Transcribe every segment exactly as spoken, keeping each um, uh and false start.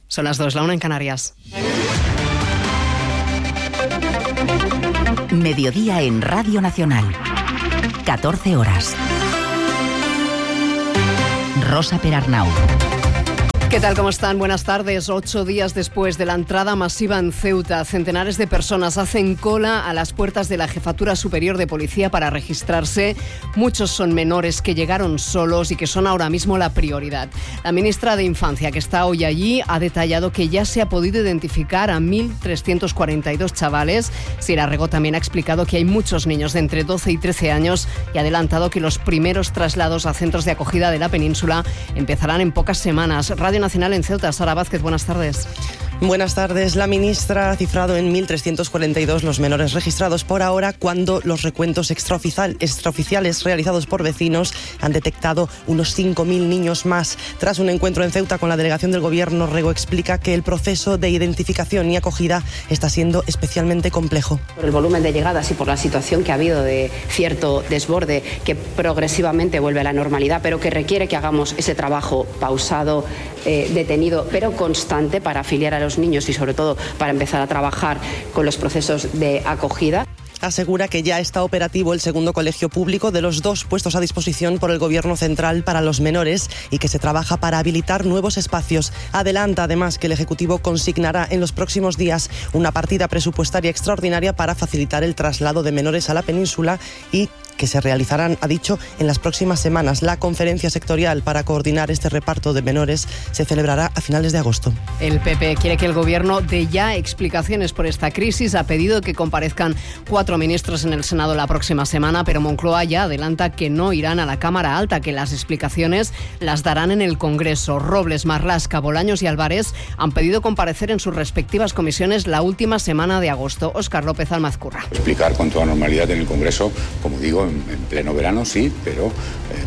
Son las dos, la una en Canarias. Mediodía en Radio Nacional. catorce horas. Rosa Perarnau. ¿Qué tal? ¿Cómo están? Buenas tardes. Ocho días después de la entrada masiva en Ceuta, centenares de personas hacen cola a las puertas de la Jefatura Superior de Policía para registrarse. Muchos son menores que llegaron solos y que son ahora mismo la prioridad. La ministra de Infancia, que está hoy allí, ha detallado que ya se ha podido identificar a mil trescientos cuarenta y dos chavales. Sira Rego también ha explicado que hay muchos niños de entre doce y trece años y ha adelantado que los primeros traslados a centros de acogida de la península empezarán en pocas semanas. Radio Nacional en Ceuta. Sara Vázquez, buenas tardes. Buenas tardes. La ministra ha cifrado en mil trescientos cuarenta y dos los menores registrados por ahora, cuando los recuentos extraoficiales realizados por vecinos han detectado unos cinco mil niños más. Tras un encuentro en Ceuta con la delegación del Gobierno, Rego explica que el proceso de identificación y acogida está siendo especialmente complejo. Por el volumen de llegadas y por la situación que ha habido de cierto desborde que progresivamente vuelve a la normalidad, pero que requiere que hagamos ese trabajo pausado, eh, detenido, pero constante para afiliar a los los niños y sobre todo para empezar a trabajar con los procesos de acogida. Asegura que ya está operativo el segundo colegio público de los dos puestos a disposición por el Gobierno central para los menores y que se trabaja para habilitar nuevos espacios. Adelanta además que el Ejecutivo consignará en los próximos días una partida presupuestaria extraordinaria para facilitar el traslado de menores a la península y que se realizarán, ha dicho, en las próximas semanas. La conferencia sectorial para coordinar este reparto de menores se celebrará a finales de agosto. El P P quiere que el Gobierno dé ya explicaciones por esta crisis. Ha pedido que comparezcan cuatro ministros en el Senado la próxima semana, pero Moncloa ya adelanta que no irán a la Cámara Alta, que las explicaciones las darán en el Congreso. Robles, Marlaska, Bolaños y Álvarez han pedido comparecer en sus respectivas comisiones la última semana de agosto. Óscar López Almazcurra. Explicar con toda normalidad en el Congreso, como digo, en pleno verano sí, pero eh,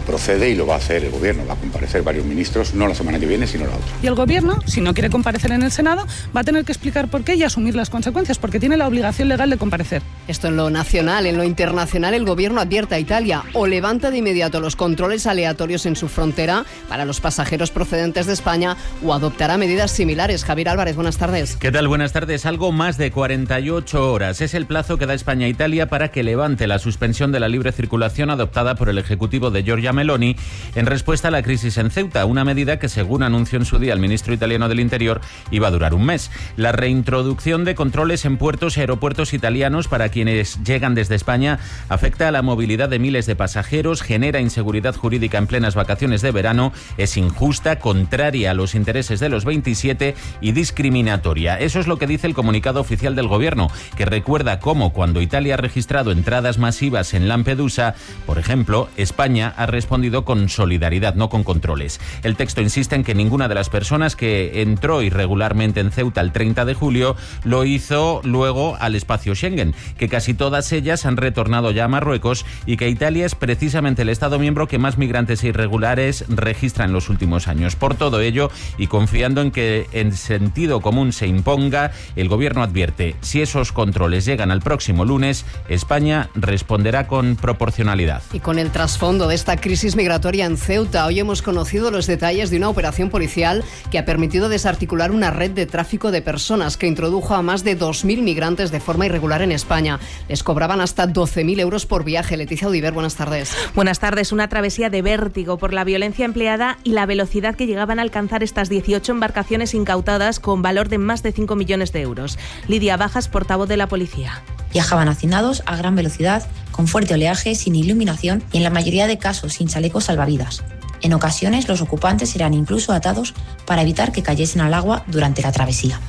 procede y lo va a hacer el Gobierno. Va a comparecer varios ministros, no la semana que viene, sino la otra. Y el Gobierno, si no quiere comparecer en el Senado, va a tener que explicar por qué y asumir las consecuencias, porque tiene la obligación legal de comparecer. Esto en lo nacional. En lo internacional, el Gobierno advierte a Italia o levanta de inmediato los controles aleatorios en su frontera para los pasajeros procedentes de España o adoptará medidas similares. Javier Álvarez, buenas tardes. ¿Qué tal? Buenas tardes. Algo más de cuarenta y ocho horas es el plazo que da España a Italia para que levante la suspensión de la libre circulación adoptada por el Ejecutivo de Giorgia Meloni en respuesta a la crisis en Ceuta, una medida que, según anunció en su día el ministro italiano del Interior, iba a durar un mes. La reintroducción de controles en puertos y aeropuertos italianos para quienes llegan desde España afecta a la movilidad de miles de pasajeros, genera inseguridad jurídica en plenas vacaciones de verano, es injusta, contraria a los intereses de los veintisiete y discriminatoria. Eso es lo que dice el comunicado oficial del Gobierno, que recuerda cómo cuando Italia ha registrado entradas masivas en Lampedusa, por ejemplo, España ha respondido con solidaridad, no con controles. El texto insiste en que ninguna de las personas que entró irregularmente en Ceuta el treinta de julio lo hizo luego al espacio Schengen, que casi todas ellas han retornado ya a Marruecos y que Italia es precisamente el Estado miembro que más migrantes irregulares registra en los últimos años. Por todo ello, y confiando en que el sentido común se imponga, el Gobierno advierte: si esos controles llegan al próximo lunes, España responderá con proporcionalidad. Y con el trasfondo de esta crisis migratoria en Ceuta, hoy hemos conocido los detalles de una operación policial que ha permitido desarticular una red de tráfico de personas que introdujo a más de dos mil migrantes de forma irregular en España. Les cobraban hasta doce mil euros por viaje. Leticia Udiver, buenas tardes. Buenas tardes. Una travesía de vértigo por la violencia empleada y la velocidad que llegaban a alcanzar estas dieciocho embarcaciones incautadas con valor de más de cinco millones de euros. Lidia Bajas, portavoz de la policía. Viajaban hacinados a gran velocidad, con fuerte oleaje, sin iluminación y en la mayoría de casos sin chalecos salvavidas. En ocasiones los ocupantes eran incluso atados para evitar que cayesen al agua durante la travesía.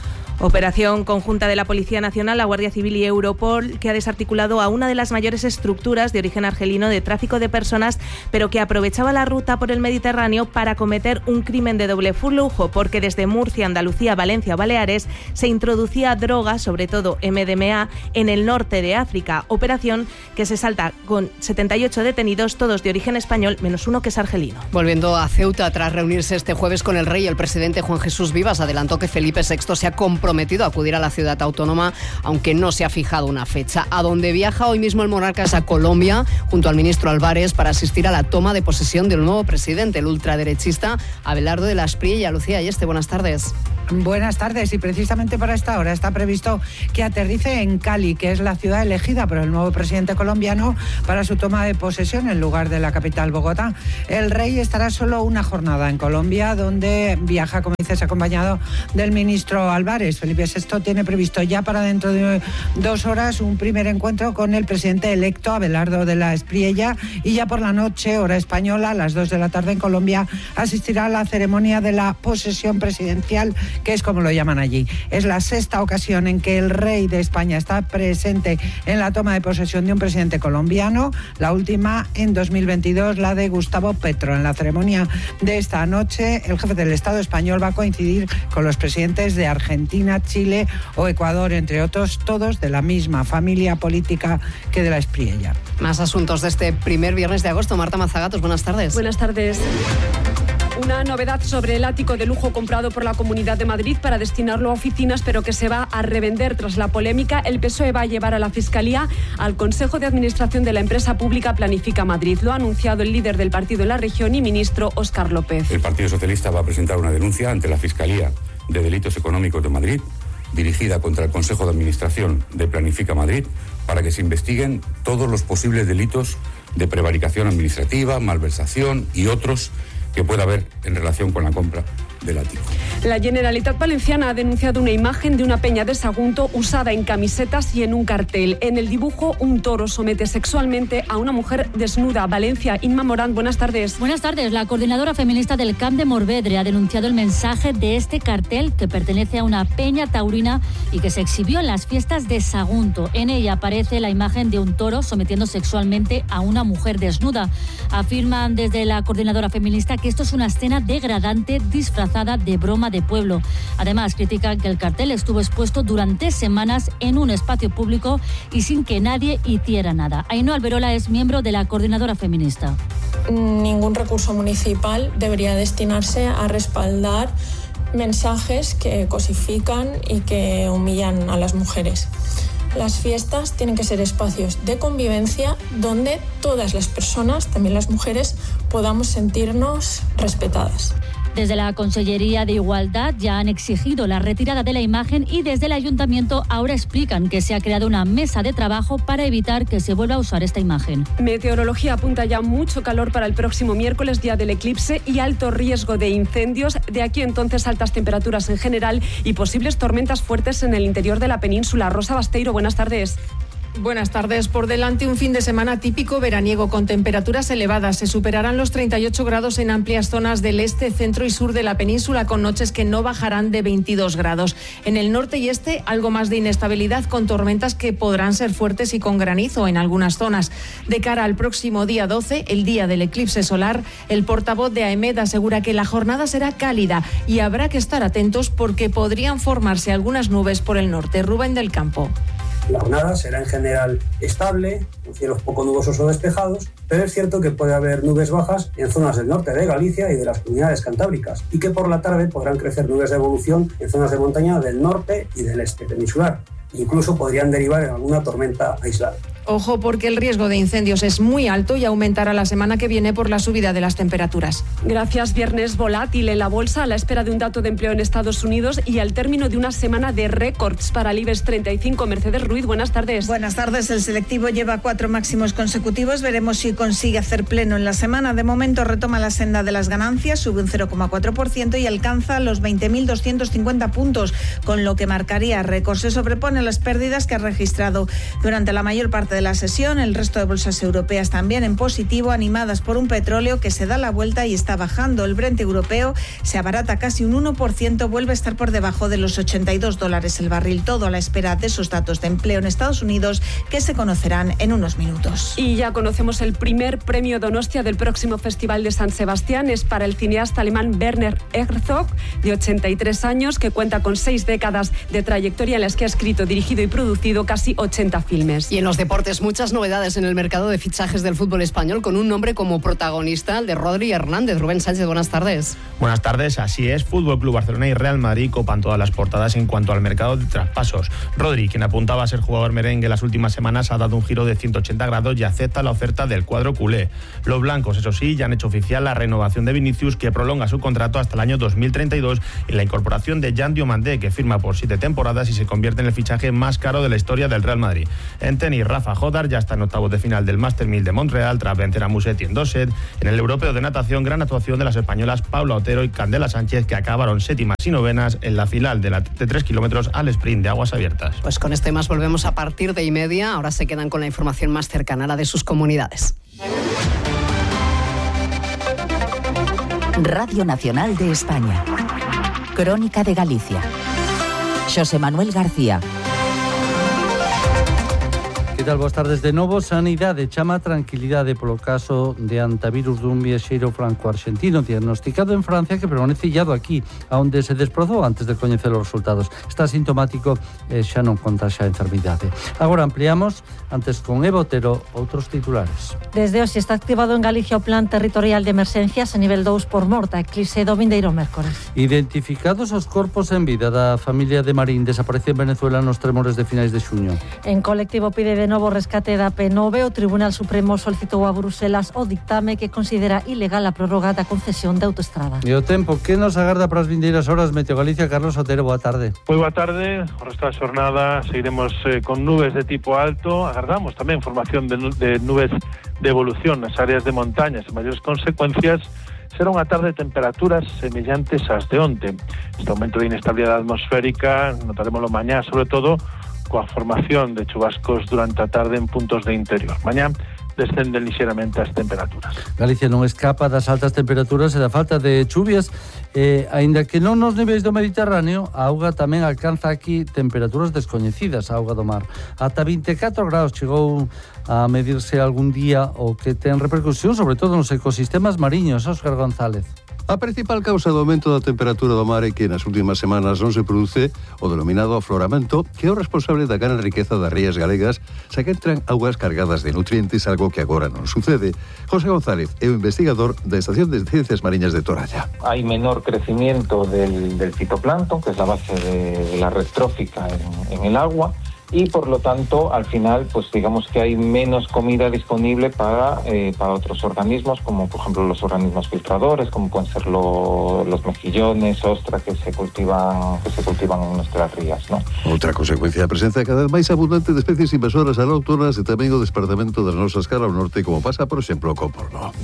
Operación conjunta de la Policía Nacional, la Guardia Civil y Europol, que ha desarticulado a una de las mayores estructuras de origen argelino de tráfico de personas, pero que aprovechaba la ruta por el Mediterráneo para cometer un crimen de doble flujo, porque desde Murcia, Andalucía, Valencia o Baleares se introducía droga, sobre todo M D M A, en el norte de África. Operación que se salta con setenta y ocho detenidos, todos de origen español, menos uno que es argelino. Volviendo a Ceuta, tras reunirse este jueves con el rey, el presidente Juan Jesús Vivas adelantó que Felipe sexto se ha comprometido prometido acudir a la ciudad autónoma, aunque no se ha fijado una fecha. A donde viaja hoy mismo el monarca es a Colombia, junto al ministro Álvarez, para asistir a la toma de posesión del nuevo presidente, el ultraderechista Abelardo de la Espriella. Lucía Ayeste, buenas tardes. Buenas tardes, y precisamente para esta hora está previsto que aterrice en Cali, que es la ciudad elegida por el nuevo presidente colombiano para su toma de posesión en lugar de la capital, Bogotá. El rey estará solo una jornada en Colombia, donde viaja, como dices, acompañado del ministro Álvarez. Felipe sexto tiene previsto ya para dentro de dos horas un primer encuentro con el presidente electo, Abelardo de la Espriella, y ya por la noche, hora española, a las dos de la tarde en Colombia, asistirá a la ceremonia de la posesión presidencial, que es como lo llaman allí. Es la sexta ocasión en que el rey de España está presente en la toma de posesión de un presidente colombiano, la última en dos mil veintidós, la de Gustavo Petro. En la ceremonia de esta noche, el jefe del Estado español va a coincidir con los presidentes de Argentina, Chile o Ecuador, entre otros, todos de la misma familia política que de la Espriella. Más asuntos de este primer viernes de agosto. Marta Mazagatos, buenas tardes. Buenas tardes. Una novedad sobre el ático de lujo comprado por la Comunidad de Madrid para destinarlo a oficinas, pero que se va a revender tras la polémica. El P S O E va a llevar a la Fiscalía al Consejo de Administración de la empresa pública Planifica Madrid. Lo ha anunciado el líder del partido en la región y ministro Óscar López. El Partido Socialista va a presentar una denuncia ante la Fiscalía de Delitos Económicos de Madrid, dirigida contra el Consejo de Administración de Planifica Madrid, para que se investiguen todos los posibles delitos de prevaricación administrativa, malversación y otros que pueda haber en relación con la compra del ático. La Generalitat Valenciana ha denunciado una imagen de una peña de Sagunto usada en camisetas y en un cartel. En el dibujo, un toro somete sexualmente a una mujer desnuda. Valencia, Inma Morán, buenas tardes. Buenas tardes. La coordinadora feminista del Camp de Morvedre ha denunciado el mensaje de este cartel, que pertenece a una peña taurina y que se exhibió en las fiestas de Sagunto. En ella aparece la imagen de un toro sometiendo sexualmente a una mujer desnuda. Afirman desde la coordinadora feminista que esto es una escena degradante disfrazada de broma de pueblo. Además, critican que el cartel estuvo expuesto durante semanas en un espacio público y sin que nadie hiciera nada. Ainhoa Alberola es miembro de la coordinadora feminista. Ningún recurso municipal debería destinarse a respaldar mensajes que cosifican y que humillan a las mujeres. Las fiestas tienen que ser espacios de convivencia donde todas las personas, también las mujeres, podamos sentirnos respetadas. Desde la Consellería de Igualdad ya han exigido la retirada de la imagen y desde el Ayuntamiento ahora explican que se ha creado una mesa de trabajo para evitar que se vuelva a usar esta imagen. Meteorología apunta ya mucho calor para el próximo miércoles, día del eclipse, y alto riesgo de incendios. De aquí entonces altas temperaturas en general y posibles tormentas fuertes en el interior de la península. Rosa Basteiro, buenas tardes. Buenas tardes. Por delante un fin de semana típico veraniego con temperaturas elevadas. Se superarán los treinta y ocho grados en amplias zonas del este, centro y sur de la península, con noches que no bajarán de veintidós grados. En el norte y este, algo más de inestabilidad, con tormentas que podrán ser fuertes y con granizo en algunas zonas. De cara al próximo día doce, el día del eclipse solar, el portavoz de AEMET asegura que la jornada será cálida y habrá que estar atentos porque podrían formarse algunas nubes por el norte. Rubén del Campo. La jornada será en general estable, con cielos poco nubosos o despejados, pero es cierto que puede haber nubes bajas en zonas del norte de Galicia y de las comunidades cantábricas, y que por la tarde podrán crecer nubes de evolución en zonas de montaña del norte y del este peninsular. Incluso podrían derivar en alguna tormenta aislada. Ojo, porque el riesgo de incendios es muy alto y aumentará la semana que viene por la subida de las temperaturas. Gracias. Viernes volátil en la bolsa a la espera de un dato de empleo en Estados Unidos y al término de una semana de récords para el IBEX treinta y cinco. Mercedes Ruiz, buenas tardes. Buenas tardes. El selectivo lleva cuatro máximos consecutivos. Veremos si consigue hacer pleno en la semana. De momento retoma la senda de las ganancias, sube un cero coma cuatro por ciento y alcanza los veinte mil doscientos cincuenta puntos, con lo que marcaría récord. Se sobrepone a las pérdidas que ha registrado durante la mayor parte de la sesión. El resto de bolsas europeas también en positivo, animadas por un petróleo que se da la vuelta y está bajando. El Brent europeo se abarata casi un uno por ciento, vuelve a estar por debajo de los ochenta y dos dólares el barril. Todo a la espera de esos datos de empleo en Estados Unidos que se conocerán en unos minutos. Y ya conocemos el primer premio Donostia del próximo Festival de San Sebastián. Es para el cineasta alemán Werner Herzog, de ochenta y tres años, que cuenta con seis décadas de trayectoria en las que ha escrito, dirigido y producido casi ochenta filmes. Y en los deportes deportes, muchas novedades en el mercado de fichajes del fútbol español con un nombre como protagonista, el de Rodri Hernández. Rubén Sánchez, buenas tardes. Buenas tardes, así es. Fútbol Club Barcelona y Real Madrid copan todas las portadas en cuanto al mercado de traspasos. Rodri, quien apuntaba a ser jugador merengue las últimas semanas, ha dado un giro de ciento ochenta grados y acepta la oferta del cuadro culé. Los blancos, eso sí, ya han hecho oficial la renovación de Vinicius, que prolonga su contrato hasta el año dos mil treinta y dos, y la incorporación de Jan Diomandé, que firma por siete temporadas y se convierte en el fichaje más caro de la historia del Real Madrid. En tenis, Rafa Jodar ya está en octavos de final del Master mil de Montreal tras vencer a Musetti en dos sets. En el europeo de natación, gran actuación de las españolas Paula Otero y Candela Sánchez, que acabaron séptimas y novenas en la final de, la, de tres kilómetros al sprint de aguas abiertas. Pues con este más volvemos a partir de y media. Ahora se quedan con la información más cercana a la de sus comunidades. Radio Nacional de España. Crónica de Galicia. Xosé Manuel García. Que tal? Boas tardes de novo. Sanidade chama tranquilidade polo caso de antivirus dun viaxeiro franco-argentino diagnosticado en Francia que permanece illado aquí, onde se desprozou antes de coñecer os resultados. Está sintomático e xa non contaxa a enfermidade. Agora ampliamos, antes con Eva Otero, outros titulares. Desde hoxe está activado en Galicia o Plan Territorial de Emerxencias a nivel dous por morta, eclipse do vindeiro mércores. Identificados os corpos en vida da familia de Marín desaparecida en Venezuela nos tremores de finais de xuño. En colectivo pide de novo rescate da P nove, o Tribunal Supremo solicitou a Bruselas o dictame que considera ilegal a prórroga da concesión de autoestrada. E o tempo, que nos agarda para as vindeiras horas? Meteo Galicia, Carlos Otero, boa tarde. Moi boa tarde, o resto da xornada seguiremos eh, con nubes de tipo alto, agardamos tamén formación de, de nubes de evolución nas áreas de montañas e maiores consecuencias. Será unha tarde de temperaturas semellantes ás de onte. Este aumento de inestabilidade atmosférica notaremoslo mañá, sobre todo coa formación de chubascos durante a tarde en puntos de interior. Mañá descenden lixeramente as temperaturas. Galicia non escapa das altas temperaturas e da falta de chuvias, eh, aínda que non nos niveis do Mediterráneo, a auga tamén alcanza aquí temperaturas descoñecidas, a auga do mar. Ata vinte e catro graus chegou a medirse algún día, o que ten repercusión sobre todo nos ecosistemas mariños. Óscar González. A principal causa do aumento da temperatura do mar é que nas últimas semanas non se produce o denominado afloramento, que é o responsable da gran riqueza das rías galegas, xa que entran augas cargadas de nutrientes, algo que agora non sucede. José González é o investigador da Estación de Ciencias Mariñas de Toralla. Hay menor crecimiento del, del fitoplancton, que es la base de la red trófica en, en el agua, y por lo tanto al final pues digamos que hay menos comida disponible para, eh, para otros organismos, como por ejemplo los organismos filtradores, como pueden ser lo, los mejillones, ostras que se cultivan que se cultivan en nuestras rías, ¿no? Outra consecuencia da presencia cada vez máis abundante de especies invasoras alóctonas e tamén o despertamento das nosas cara ao norte, como pasa por exemplo co porno.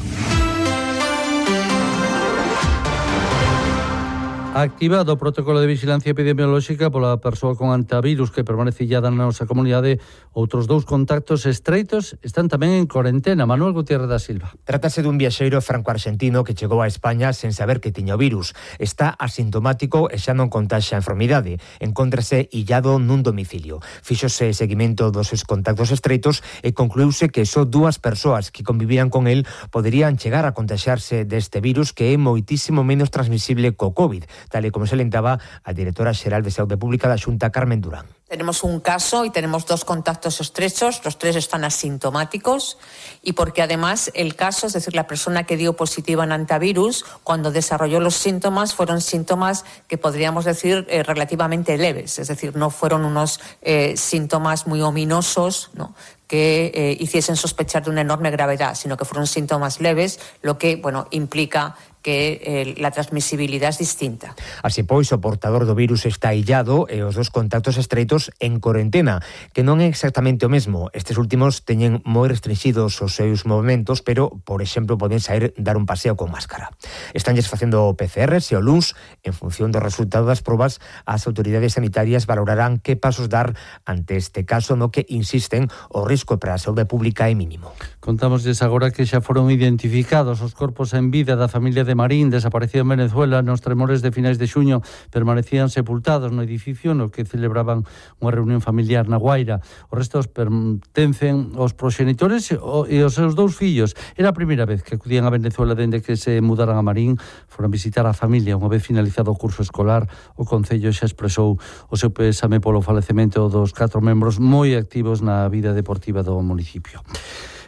Activado o protocolo de vigilancia epidemiolóxica pola persoa con antivirus que permanece illada na nosa comunidade. Outros dous contactos estreitos están tamén en corentena. Manuel Gutiérrez da Silva. Trátase dun viaxeiro franco-argentino que chegou a España sen saber que tiña o virus. Está asintomático e xa non contaxa a enfermidade. Encóntrase illado nun domicilio. Fíxose seguimento dos seus contactos estreitos e concluíuse que só dúas persoas que convivían con el poderían chegar a contaxarse deste virus, que é moitísimo menos transmisible co COVID, tal e como se alentaba a directora xeral de Saúde Pública da Xunta, Carmen Durán. Tenemos un caso y tenemos dos contactos estrechos, los tres están asintomáticos y porque además el caso, es decir, la persona que dio positiva en antivirus, cuando desarrolló los síntomas, fueron síntomas que podríamos decir eh, relativamente leves, es decir, no fueron unos eh, síntomas muy ominosos, ¿no?, que eh, hiciesen sospechar de una enorme gravedad, sino que fueron síntomas leves, lo que, bueno, implica que eh, la transmisibilidad es distinta. Así pois, o portador do virus está illado e os dos contactos estreitos en corentena, que non é exactamente o mesmo. Estes últimos teñen moi restringidos os seus movimentos, pero, por exemplo, poden sair dar un paseo con máscara. Estánlles facendo P C Rs e o luns, en función do resultado das probas, as autoridades sanitarias valorarán que pasos dar ante este caso, no que, insisten, o risco para a saúde pública é mínimo. Contámosles agora que xa foron identificados os corpos en vida da familia de Marín, desaparecida en Venezuela nos tremores de finais de xuño. Permanecían sepultados no edificio no que celebraban unha reunión familiar na Guaira. Os restos pertencen aos proxenitores e aos seus dous fillos. Era a primeira vez que acudían a Venezuela dende que se mudaran a Marín. Foron visitar a familia unha vez finalizado o curso escolar. O Concello xa expresou o seu pésame polo falecemento dos catro membros moi activos na vida deportiva do municipio.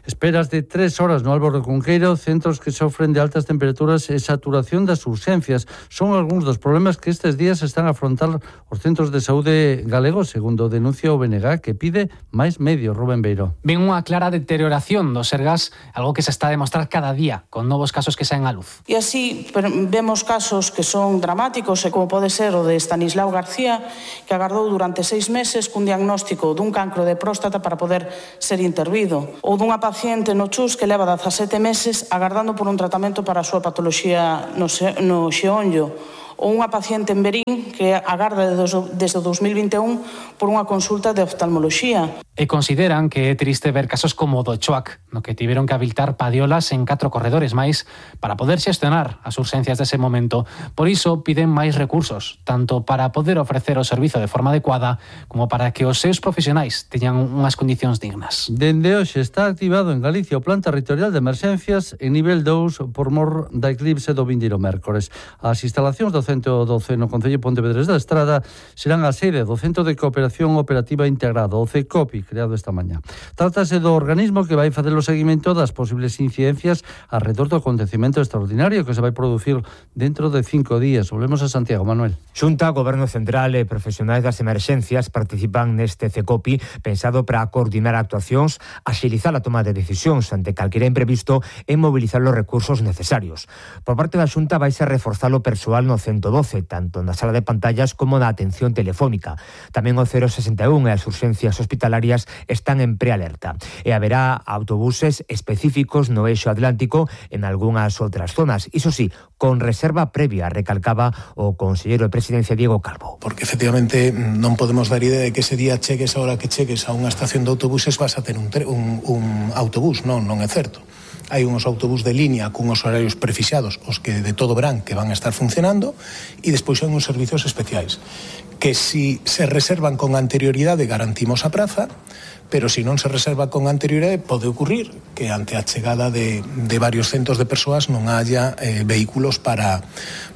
Esperas de tres horas no Álvaro de Cunqueiro, centros que sofren de altas temperaturas e saturación das urxencias. Son algúns dos problemas que estes días están a afrontar os centros de saúde galegos, segundo denuncia o B N G, que pide máis medios. Rubén Beiro. Ven unha clara deterioración do Sergas, algo que se está a demostrar cada día, con novos casos que saen á luz. E así vemos casos que son dramáticos, e como pode ser o de Estanislao García, que agardou durante seis meses cun diagnóstico dun cancro de próstata para poder ser intervido, ou dunha paciente paciente no Chus que leva dezasete meses agardando por un tratamento para a súa patoloxía no, no xeonllo, ou unha paciente en Verín que agarda desde o dos mil vinte e un por unha consulta de oftalmoloxía. E consideran que é triste ver casos como o do Choac, no que tiveron que habilitar padiolas en catro corredores máis para poder xestionar as urxencias dese momento. Por iso piden máis recursos, tanto para poder ofrecer o servizo de forma adecuada como para que os seus profesionais teñan unhas condicións dignas. Dende hoxe está activado en Galicia o Plan Territorial de Emerxencias en nivel dous por mor da eclipse do vindeiro mércores. As instalacións do centro doce no Concello de Pontevedra da Estrada serán a sede do Centro de Cooperación Operativa Integrado, o CECOPI, creado esta mañá. Trátase do organismo que vai facer o seguimento das posibles incidencias alrededor do acontecemento extraordinario que se vai producir dentro de cinco días. Volvemos a Santiago, Manuel. Xunta, Goberno Central e profesionais das emerxencias participan neste CECOPI pensado para coordinar actuacións, axilizar a toma de decisións ante calquera imprevisto e mobilizar os recursos necesarios. Por parte da Xunta vaise reforzar o persoal no ciento doce, tanto na sala de pantallas como na atención telefónica. Tamén o cero sesenta e un e as urxencias hospitalarias están en prealerta. E haberá autobuses específicos no eixo atlántico en algunhas outras zonas. Iso sí, con reserva previa, recalcaba o conselleiro de Presidencia Diego Calvo. Porque efectivamente non podemos dar idea de que ese día chegues a hora que chegues a unha estación de autobuses vas a ter un, un, un autobús. Non, non é certo. Hai uns autobús de línea cunhos horarios prefixados, os que de todo verán que van a estar funcionando, e despois hai uns servizos especiais que si se reservan con anterioridade garantimos a praza, pero se non se reserva con anterioridade pode ocurrir que ante a chegada de, de varios centos de persoas non haya eh, vehículos para,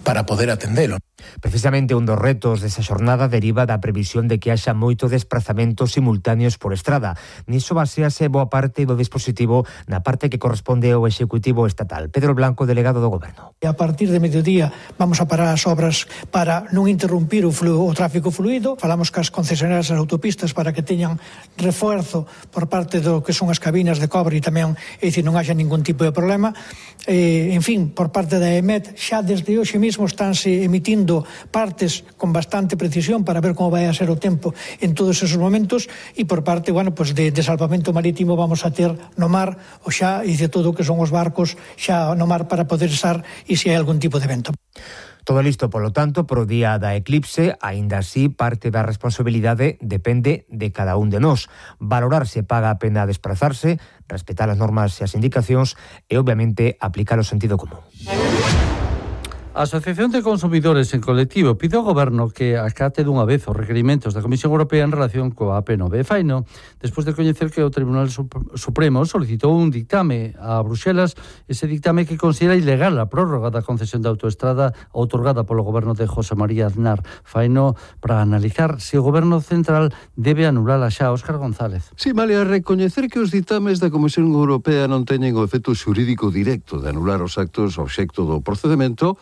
para poder atendelo. Precisamente un dos retos desa xornada deriva da previsión de que haxa moito desplazamento simultáneos por estrada. Niso basease boa parte do dispositivo na parte que corresponde ao Executivo Estatal. Pedro Blanco, delegado do Goberno. A partir de mediodía vamos a parar as obras para non interrumpir o, flu, o tráfico fluido. Falamos cas concesionarias das autopistas para que teñan refuerzo por parte do que son as cabinas de cobre e tamén, é dicir, non haxa ningún tipo de problema. Eh, en fin, por parte da E M E T xa desde hoxe mesmo estánse emitindo partes con bastante precisión para ver como vai a ser o tempo en todos esos momentos, e por parte, bueno, pues de, de salvamento marítimo vamos a ter no mar o xa e de todo o que son os barcos xa no mar para poder estar e se hai algún tipo de vento. Todo listo, polo tanto, pro día da eclipse, aínda así, parte da responsabilidade depende de cada un de nós. Valorar se paga a pena desplazarse, respetar as normas e as indicacións e, obviamente, aplicar o sentido común. A Asociación de Consumidores en Colectivo pide ao Goberno que acate dunha vez os requerimentos da Comisión Europea en relación coa A P nove. Faino, despois de coñecer que o Tribunal Supremo solicitou un dictame a Bruxelas, ese dictame que considera ilegal a prórroga da concesión da autoestrada outorgada polo Goberno de José María Aznar. Faino para analizar se o Goberno Central debe anulala xa. Óscar González. Sí, Malia, recoñecer que os ditames da Comisión Europea non teñen o efecto xurídico directo de anular os actos obxecto do procedemento,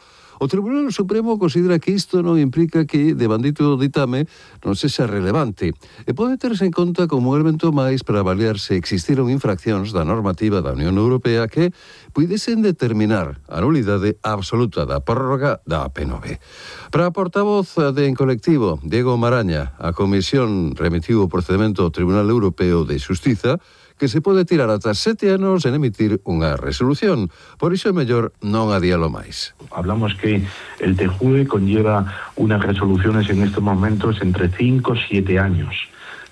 o Tribunal Supremo considera que isto non implica que, devandito do ditame, non sexa relevante e pode terse en conta como un elemento máis para avaliar se existiron infraccións da normativa da Unión Europea que puidesen determinar a nulidade absoluta da prórroga da A P nove. Para a portavoz de En Colectivo, Diego Maraña, a Comisión remitiu o procedimento ao Tribunal Europeo de Xustiza que se pode tirar ata sete anos en emitir unha resolución. Por iso é mellor non adialo máis. Hablamos que el T J U E conlleva unas resoluciones en estos momentos entre cinco y siete años.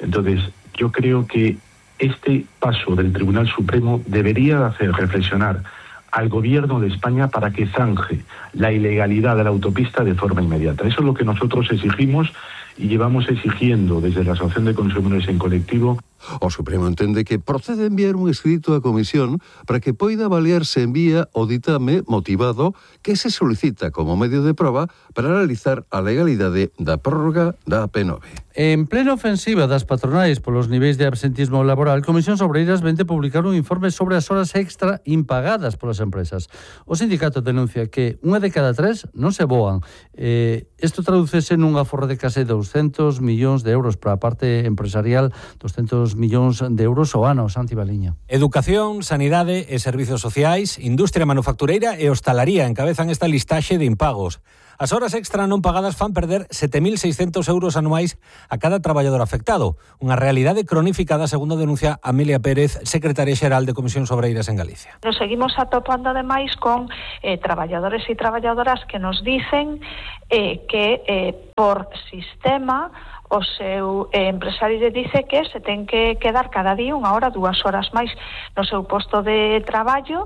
Entonces, yo creo que este paso del Tribunal Supremo debería hacer reflexionar al Gobierno de España para que zanje la ilegalidad de la autopista de forma inmediata. Eso es lo que nosotros exigimos y llevamos exigiendo desde la Asociación de Consumidores en colectivo. O Supremo entende que procede enviar un escrito á Comisión para que poida avaliar se envía o ditame motivado que se solicita como medio de proba para analizar a legalidade da prórroga da P nove. En plena ofensiva das patronais polos niveis de absentismo laboral, Comisións Obreiras vente publicar un informe sobre as horas extra impagadas polas empresas. O sindicato denuncia que unha de cada tres non se voan. Eh, isto tradúcese nunha aforro de case douscentos millóns de euros para a parte empresarial, douscentos millóns de euros ao ano. Santi Baliño. Educación, sanidade e servizos sociais, industria manufactureira e hostalaría encabezan esta listaxe de impagos. As horas extra non pagadas fan perder sete mil seiscentos euros anuais a cada traballador afectado, unha realidade cronificada, segundo denuncia Amelia Pérez, secretaria xeral de Comisións Obreiras en Galicia. Nos seguimos atopando ademais con eh, traballadores e traballadoras que nos dicen eh, que eh, por sistema o seu eh, empresario lle dice que se ten que quedar cada día unha hora, dúas horas máis no seu posto de traballo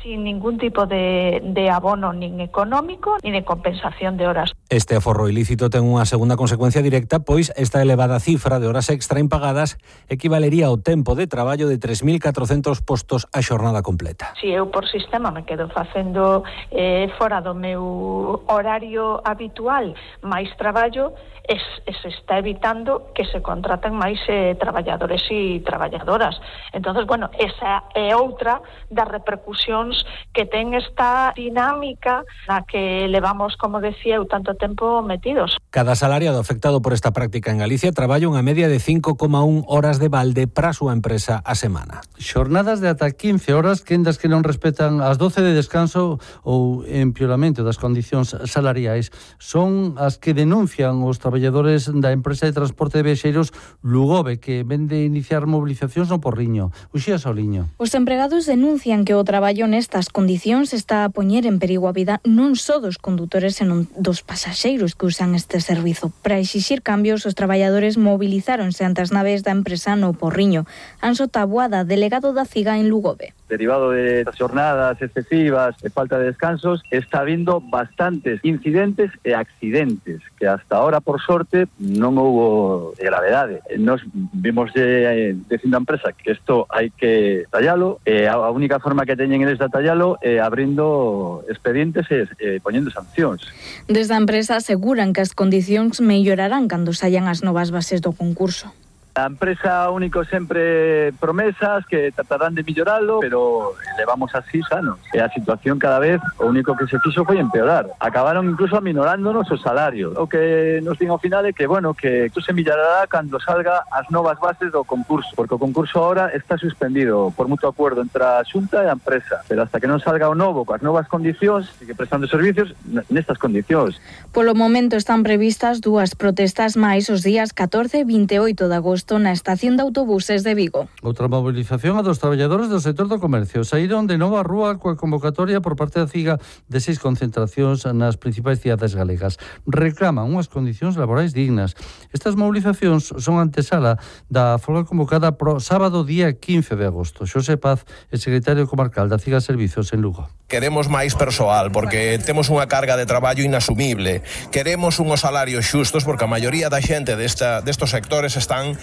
sin ningún tipo de, de abono nin económico nin de compensación de horas. Este aforro ilícito ten unha segunda consecuencia directa, pois esta elevada cifra de horas extra impagadas equivalería ao tempo de traballo de tres mil catrocentos postos a xornada completa. Si eu por sistema me quedo facendo eh, fora do meu horario habitual máis traballo, es, es está evitando que se contraten máis eh, traballadores e traballadoras. Entonces, bueno, esa é outra das repercusións que ten esta dinámica na que levamos, como decía, eu tanto tempo metidos. Cada asalariado afectado por esta práctica en Galicia traballa unha media de cinco coma un horas de balde para a súa empresa a semana. Xornadas de ata quince horas, quendas que non respetan as doce de descanso ou empeoramento das condicións salariais son as que denuncian os traballadores da empresa de transporte de viaxeiros Lugobe, que vende iniciar mobilizacións no Porriño. Uxía Soliño. Os empregados denuncian que o traballo nestas condicións está a poñer en perigo a vida non só dos condutores, senón dos pasaxeiros que usan este servizo. Para exixir cambios, os traballadores mobilizáronse ante as naves da empresa no Porriño. Anxo Taboada, delegado da CIGA en Lugobe. Derivado de xornadas excesivas e falta de descansos, está habiendo bastantes incidentes e accidentes que hasta ahora, por sorte, non houbo gravedade. Nos vimos de, dicindo a empresa que isto hai que tallalo, e a única forma que teñen eles de tallalo é abrindo expedientes e, e poñendo sancións. Desde a empresa aseguran que as condicións mellorarán cando saian as novas bases do concurso. A empresa único sempre promesas que tratarán de milloralo, pero levamos así sanos. E a situación cada vez o único que se fixo foi empeorar. Acabaron incluso aminorándonos o salario. O que nos din ao final é que, bueno, que isto se millorará cando salga as novas bases do concurso, porque o concurso ahora está suspendido por mutuo acuerdo entre a Xunta e a empresa, pero hasta que non salga o novo coas novas condicións, sigue prestando servicios nestas condicións. Polo momento están previstas dúas protestas máis os días catorce e vinte e oito de agosto na estación de autobuses de Vigo. Outra mobilización a dos traballadores do sector do comercio. Saíron de novo á rúa coa convocatoria por parte da CIGA de seis concentracións nas principais cidades galegas. Reclaman unhas condicións laborais dignas. Estas mobilizacións son antesala da folga convocada pro sábado día quince de agosto. Xosé Paz, el secretario comarcal da CIGA Servicios en Lugo. Queremos máis persoal porque temos unha carga de traballo inasumible. Queremos unhos salarios xustos porque a maioría da xente desta, destos sectores están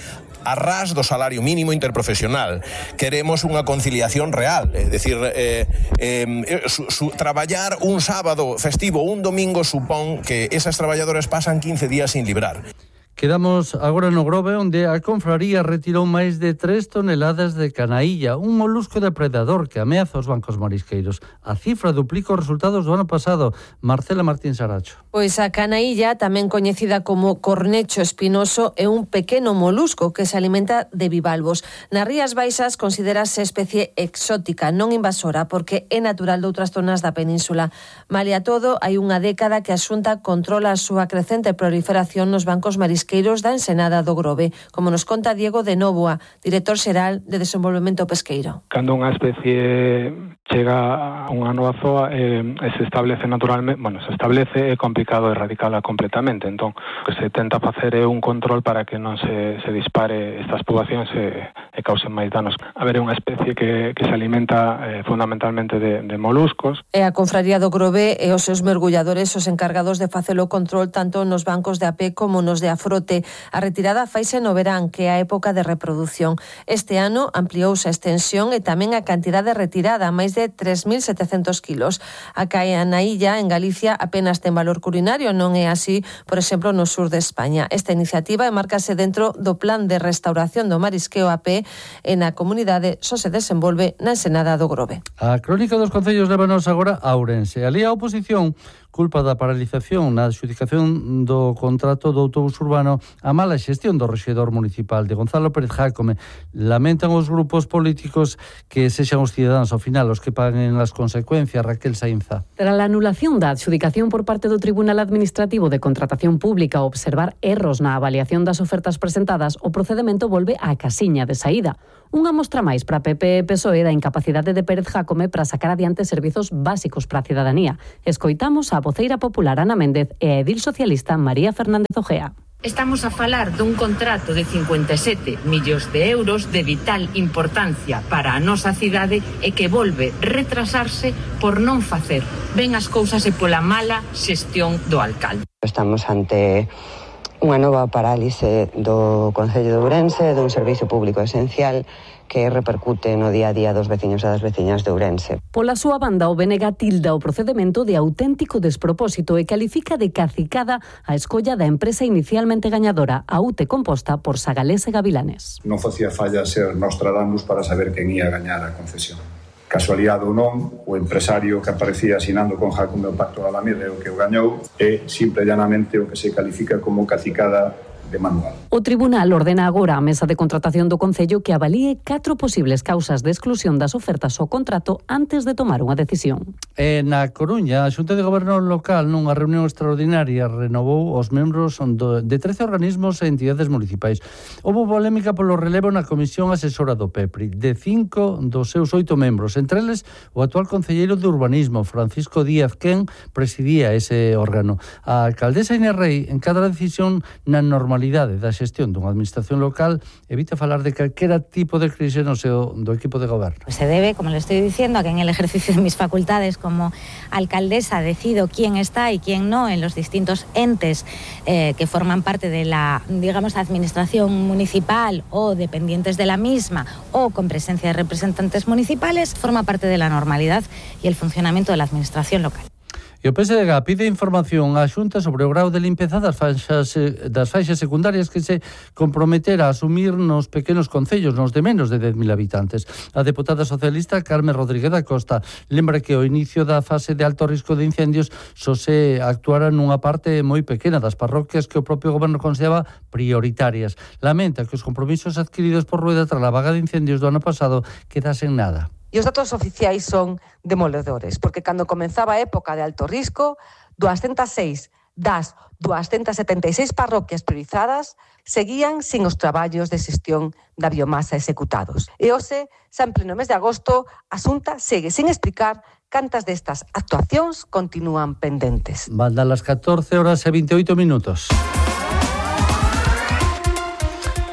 a ras do salario mínimo interprofesional. Queremos unha conciliación real, é dicir, eh, eh, su, su, traballar un sábado festivo, un domingo, supón que esas traballadoras pasan quince días sin librar. Quedamos agora no Grove, onde a confraría retirou máis de tres toneladas de canaílla, un molusco depredador que ameaza os bancos marisqueiros. A cifra duplica os resultados do ano pasado. Marcela Martín Saracho. Pois a canaílla, tamén coñecida como cornecho espinoso, é un pequeno molusco que se alimenta de bivalvos. Nas Rías Baixas considerase especie exótica, non invasora, porque é natural de outras zonas da península. Malia todo, hai unha década que a Xunta controla a súa crecente proliferación nos bancos marisqueiros da Ensenada do Grove, como nos conta Diego de Nóvoa, director xeral de Desenvolvemento Pesqueiro. Cando unha especie chega a unha nova zoa eh, se establece naturalmente, bueno, se establece é complicado erradicarla completamente, entón o que se tenta facer é un control para que non se, se dispare estas poboacións e, e causen máis danos. A ver, é unha especie que, que se alimenta eh, fundamentalmente de, de moluscos. E a Confraría do Grove e os seus mergulladores os encargados de facer o control tanto nos bancos de A P como nos de Afrote. lote. A retirada faise no verán, que é a época de reproducción. Este ano ampliouse a extensión e tamén a cantidade retirada, máis de tres mil setecentos kilos. A caia na illa, en Galicia, apenas ten valor culinario, non é así, por exemplo, no sur de España. Esta iniciativa enmárcase dentro do Plan de Restauración do Marisqueo A P e na comunidade só se desenvolve na Ensenada do Grove. A crónica dos concellos lévanos agora a Ourense. Ali a oposición culpa da paralización na adxudicación do contrato do autobús urbano a mala xestión do rexedor municipal de Gonzalo Pérez Jácome. Lamentan os grupos políticos que sexan os cidadáns ao final os que paguen as consecuencias. Raquel Sainza. Tras a anulación da adxudicación por parte do Tribunal Administrativo de Contratación Pública ao observar erros na avaliación das ofertas presentadas, o procedemento volve á casiña de saída. Unha mostra máis para P P e P S O E da incapacidade de Pérez Jácome para sacar adiante servizos básicos para a cidadanía. Escoitamos a voceira popular Ana Méndez e a edil socialista María Fernández Ojea. Estamos a falar dun contrato de cincuenta e sete millóns de euros de vital importancia para a nosa cidade e que volve retrasarse por non facer ben as cousas e pola mala xestión do alcalde. Estamos ante unha nova parálise do Concello de Ourense, dun servizo público esencial que repercute no día a día dos veciños e das veciñas de Ourense. Pola súa banda, o B N G tilda o procedemento de auténtico despropósito e califica de cacicada a escolla da empresa inicialmente gañadora, a U T E composta por Sagalés e Gavilanes. Non facía falla ser Nostradamus para saber quen ia gañar a concesión. Casualidade ou non, o empresario que aparecía asinando con Jácome o pacto da Alameda e o que o gañou é simple e llanamente o que se califica como cacicada de manual. O Tribunal ordena agora a Mesa de Contratación do Concello que avalíe catro posibles causas de exclusión das ofertas ao contrato antes de tomar unha decisión. E na Coruña, a Xunta de Goberno Local nunha reunión extraordinaria renovou os membros do, de trece organismos e entidades municipais. Houbo polémica polo relevo na Comisión Asesora do P E P R I de cinco dos seus oito membros, entre eles o actual concelleiro de Urbanismo, Francisco Díaz, quen presidía ese órgano. A alcaldesa Inés Rei, en cada decisión na normalidade da xestión dunha administración local, evita falar de calquera tipo de crise no seu do equipo de goberno. Se debe, como le estoy diciendo, a que en el ejercicio de mis facultades como alcaldesa decido quién está y quién no en los distintos entes eh, que forman parte de la, digamos, administración municipal o dependientes de la misma o con presencia de representantes municipales, forma parte de la normalidad y el funcionamiento de la administración local. E o P S D G pide información á Xunta sobre o grau de limpeza das faixas, das faixas secundarias que se comprometera a asumir nos pequenos concellos, nos de menos de dez mil habitantes. A deputada socialista Carmen Rodríguez da Costa lembra que ao inicio da fase de alto risco de incendios só se actuara nunha parte moi pequena das parroquias que o propio goberno consideraba prioritarias. Lamenta que os compromisos adquiridos por Rueda tras a vaga de incendios do ano pasado quedasen nada. E os datos oficiais son demoledores, porque cando comenzaba a época de alto risco, doscientas seis das doscientas setenta e seis parroquias priorizadas seguían sin os traballos de xestión da biomasa executados. E hoxe, xa en pleno mes de agosto, a Xunta segue sin explicar cantas destas actuacións continúan pendentes. Van das catorce horas e veintioito minutos.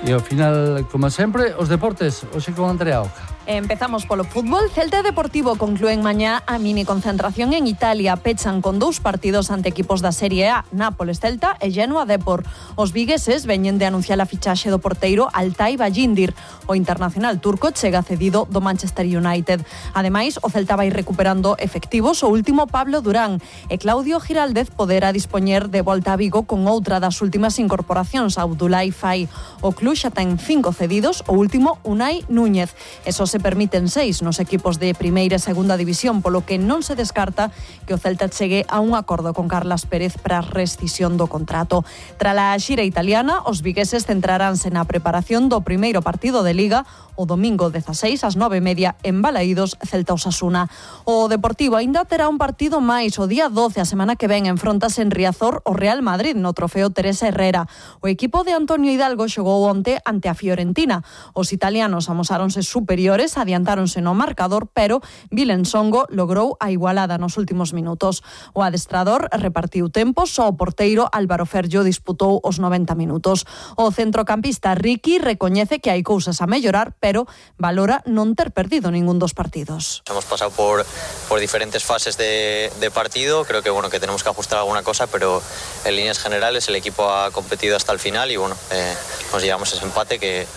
E ao final, como sempre, os deportes, hoxe con Andrea Oca. Empezamos polo fútbol. Celta e Deportivo conclúen mañá a mini concentración en Italia. Pechan con dous partidos ante equipos da Serie A, Nápoles Celta e Genoa Depor. Os vigueses veñen de anunciar a fichaxe do porteiro Altay Bayindir. O internacional turco chega cedido do Manchester United. Ademais, o Celta vai recuperando efectivos o último Pablo Durán e Claudio Giraldez poderá dispoñer de volta a Vigo con outra das últimas incorporacións, Abdoulaye Faye. O club xa ten cinco cedidos, o último Unai Núñez. Eso se permiten seis nos equipos de primeira e segunda división, polo que non se descarta que o Celta chegue a un acordo con Carlas Pérez para a rescisión do contrato. Trala a xira italiana, os vigueses centraránse na preparación do primeiro partido de Liga o domingo dezaseis ás nove e media en Balaídos, Celta Osasuna. O Deportivo aínda terá un partido máis o día doce, a semana que ven, enfrontase en Riazor o Real Madrid no trofeo Teresa Herrera. O equipo de Antonio Hidalgo xogou onte ante a Fiorentina. Os italianos amosáronse superiores Leones adiantáronse no marcador, pero Vilensongo logrou a igualada nos últimos minutos. O adestrador repartiu tempo, só o porteiro Álvaro Ferllo disputou os noventa minutos. O centrocampista Ricky recoñece que hai cousas a mellorar, pero valora non ter perdido ningún dos partidos. Hemos pasado por, por diferentes fases de, de partido, creo que bueno que tenemos que ajustar alguna cosa, pero en líneas generales el equipo ha competido hasta el final y bueno, eh, nos llevamos ese empate que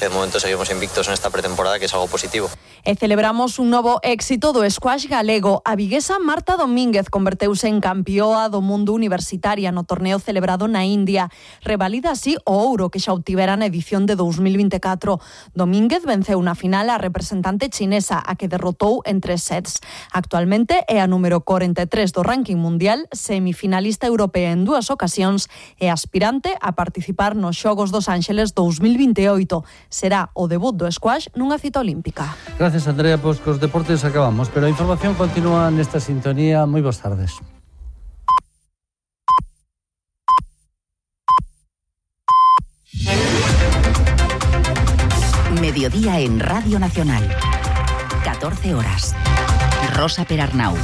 de momento seguimos invictos en esta pretemporada, que es algo positivo. E celebramos un novo éxito do squash galego. A viguesa Marta Domínguez converteuse en campioa do mundo universitaria no torneo celebrado na India. Revalida así o ouro que xa obtivera na edición de dos mil veinticuatro. Domínguez venceu na final a representante chinesa, a que derrotou en tres sets. Actualmente é a número corenta e tres do ranking mundial, semifinalista europea en dúas ocasións e aspirante a participar nos Xogos dos Ángeles dos mil veintioito. Será o debut do squash nunha cita olímpica. Gracias, Andrea. Pois cos deportes acabamos, pero a información continúa nesta sintonía. Moi boas tardes. Mediodía en Radio Nacional. catorce horas. Rosa Perarnau.